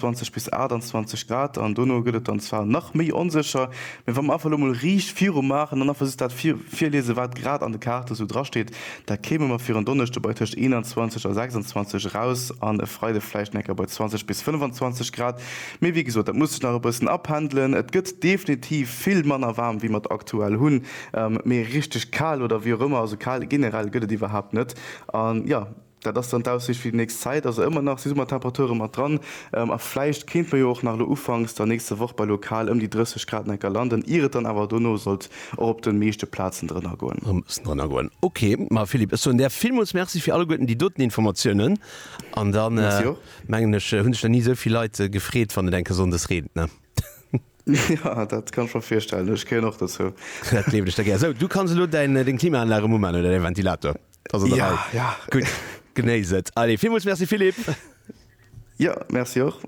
20 bis 28 Grad an dono gëtt et dann zwar nach méi onsécher, mee wa mer einfach elo mol riicht viru maachen an einfach just dat virliese wat grad an de Kaarte sou drasteet, da kéime mer fir en Donneschde bei tëscht 21 a 26 eraus an e Freide vläicht nach eng Kéier bei 20 bis 25 Grad. Mee wéi gesot, dat muss sech nach e bëssen apendelen. Et gëtt definitiv vill manner waarm wéi mer et aktuell hunn, mee richteg kal oder wéi och ëmmer, also kal generell gëtt et iwwerhaapt net an jo. Dat ass dann d'Aussiicht fir déi nächst Zäit. Also ëmmer nach si Summertemperature mat dran a vläicht kéint mer jo och nach elo ufanks der nächster Woch bei lokal ëm déi 30 Grad enker landen, ier et dann awer dono sollt och op de meeschte Plazen drënner goen. Erëm e bëssen drënner goen. Ok, ma Philippe, ech soen där villmools Merci fir alleguerten déi doten Informatiounen an dann Merci och. mengen ech, hunn sech nach ni esou vill Leit gefreet, wann et eng Kéier sonndes reent, ne? Jo, dat kann ech mer virstellen. Ech gehéieren och dozou. Dat gleewen ech der gär. Sou, du kanns elo däin, deng Klimaanlag erëm umaan oder däi Ventilator. Ass an der Ja, Rei. ja. Gutt, genéiss et. Allez, villmools Merci Philippe. Jo, merci och.